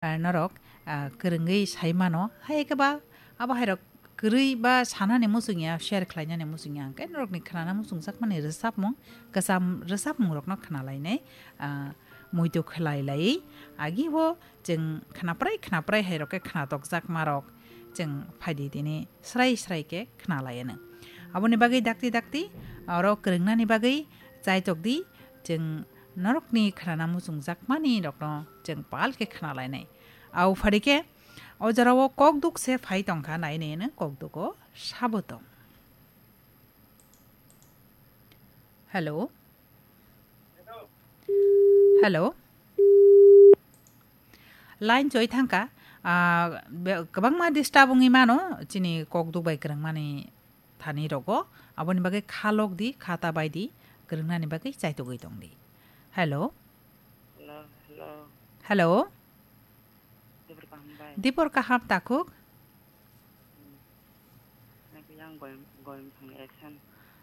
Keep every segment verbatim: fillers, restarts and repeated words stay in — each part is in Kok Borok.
Ah, norok, ah, kwrwngwi sai mano. Hai khe ba abo hai rok kwrwi ba sanani muchung ya, share khlainani muchung ya, hwnkhe norokni khnana muchungjakmani rwchapmung, kwcham rwchapmungrokno khnalainai, ah, muitu khlai laiwi. Agi bo chwng khnaprai khnaprai hai rok khe khnatokjakmarok chwng phaidi tini srai srai khe khnalaianw. Aboni bagwi dakti dakti oro kwrwngnani bagwi chaitok di, chwng norokni khnana muchungjakmani rokno chwng pal khe khnalainai. Au phari khe o jorao kokduk se phai tongkha, nai nai nw kokdugo sabo tong. Hello? Hello? Line choi thangkha, ah, be-, kwbangma disturb wngwi mano, chini kokduk bai kwrwngmani thani rogo, aboni bagwi kha lok di, kha ta bai di, kwrwngnani bagwi chaitugwi tong di. Hello? Hello, hello. Hello? Dipor kaham bai. Dipor kaham takhuk? Hmm. Naki yang goyam, goyam thang esan.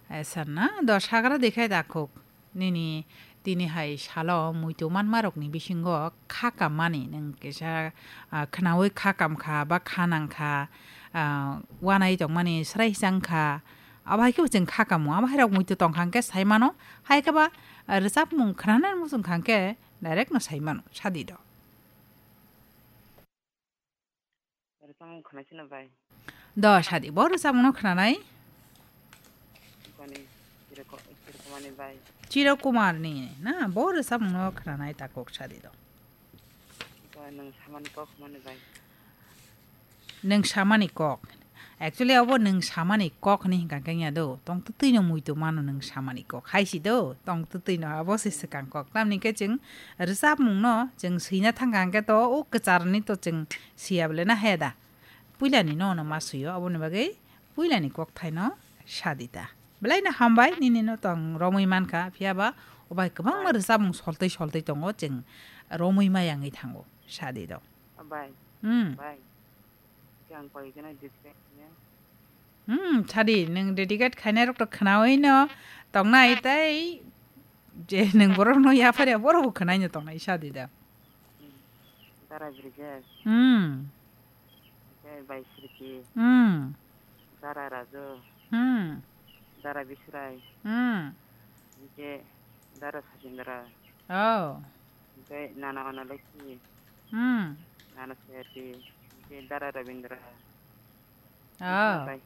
Esan na? Do sagra dikhai takhuk. Nini tini hai salo muitu manmarokni bisingo kha kammani nwng kisa, ah, khnaui kha kamkha ba kha nangkha, ah, wanai tongmani srai changkha. Abo hai khe bo chwng kha kamo. Abo hai rok muitu tongkha hwnkhe sai mano. Hai khe ba, ah, rwchapmung khnanani muchung kha hwnkhe direct no sai mano. Sadi do. Rwchapmung khwnaisino bai. Do sadi, bo rwchapmungno khwnanai? Bani Chiroko-, Chirokumani bai. Chirokumarni na, bo rwchapmungno khwnanai takhuk sadi do. Bo nwng samani kok hwnmani bai. Nwng samani kok. Actually, abo nwng samani kok hwnwi hwnkha khe wngya do. Tong twtwino muitu mano nwng samani kok. Hai si do, tong twtwino abo se swkang kok. Tamni khe chwng rwchapmungno chwng swina thangkha hwnkhe to o kwcharni to chwng siya bole na he da. Puilani no no ma suyo, aboni bagwi puilani kokthaino sadi ta. Belaino hambai, nini no tong romwi mankha, phiya ba o bai kwbangma rwchapmung soltwi soltwi tongo, chwng romwi ma yangwi thango, sadi do. Bai. Hmm. Bai. Khe ang koi gana disrespect ne. Hmm, sadi, nwng dedicate khainai rok to khnaui no tongnai tei je nwng borok no yapharya borok bo khnaino tongnai sadi da. Hmm. Dara Brijesh. Hmm. Tei Bai Sriti. Hmm. Dara Raju. Hmm. Dara Bisrai. Hmm. Tei Dara Sajindra. Oh. Tei Nana Analekhi. Hmm. Nana Seti. Tei Dara Rabindra. Oh. Bai.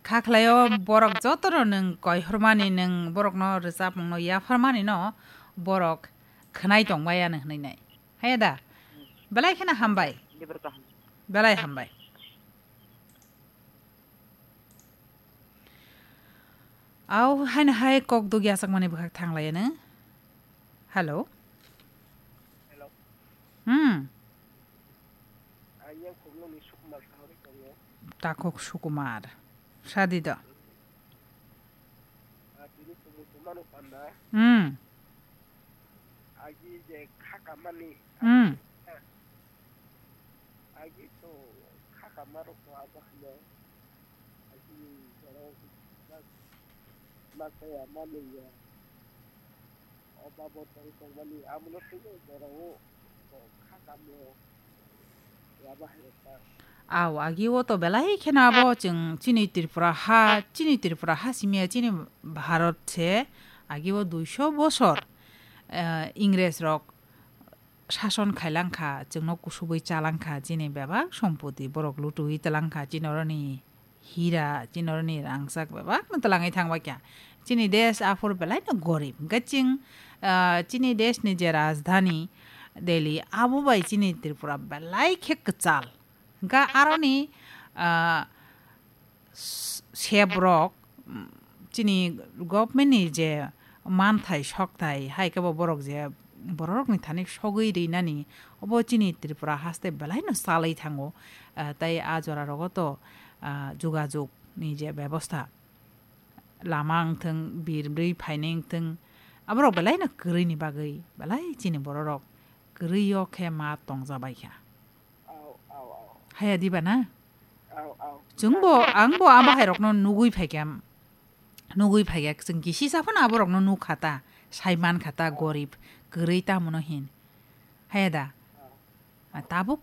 Kha khlaio borok jotono nwng koihormani, nwng borokno rwchapmungno yapharmani no borok khwnai tongbai ano hwnwi nai. Haya da? Belai kheno hambai. Belai hambai. Au, haino hai kok dugya sakmani bwkhak thanglaiyano. Hello? Hello. Hmm. Takhuk Sukumar. Sadi do. Hmm. Hmm. Au, agi o to belai kheno abo chwng chini Tripura ha, chini Tripura ha simi ya, chini Bharat se agi o duiso bosor, eh, Ingres rok sason khailangkha, chwngno kusubui chalangkha, chini bebak sompoti borok lutui talangkha, chini oroni hira, chini oroni rangchak bebakno talangwi thangbaikha. Chini desh aphuru belaino gorib, hwnkhe chwng, ah, chini deshni je rajdhani Delhi, abo bai chini Tripura belai khe kwchal. Hwnkhe aroni, ah, s-, sebrok, mm, chini government ni je manthai sokthai, hai khe bo borok je bororokni thani sogwi rinani, obo chini Tripura haste belaino chalwi thango. Ah, tai a jora rogo to, ah, jogajog ni je bebosta, lama wngthwng, birwi phainai wngthwng, aborok belaino kwrwini bagwi belai chini bororok kwrwi o khe ma tongjabaikha. Haya diba na? Chwngbo, angbo a bahairokno nugwi phaikha, nugwi phaikha, chwng kisisa phano aborokno nukha ta, sai mankha ta, gorib, kwrwi tamono hin. Haya da? Tabuk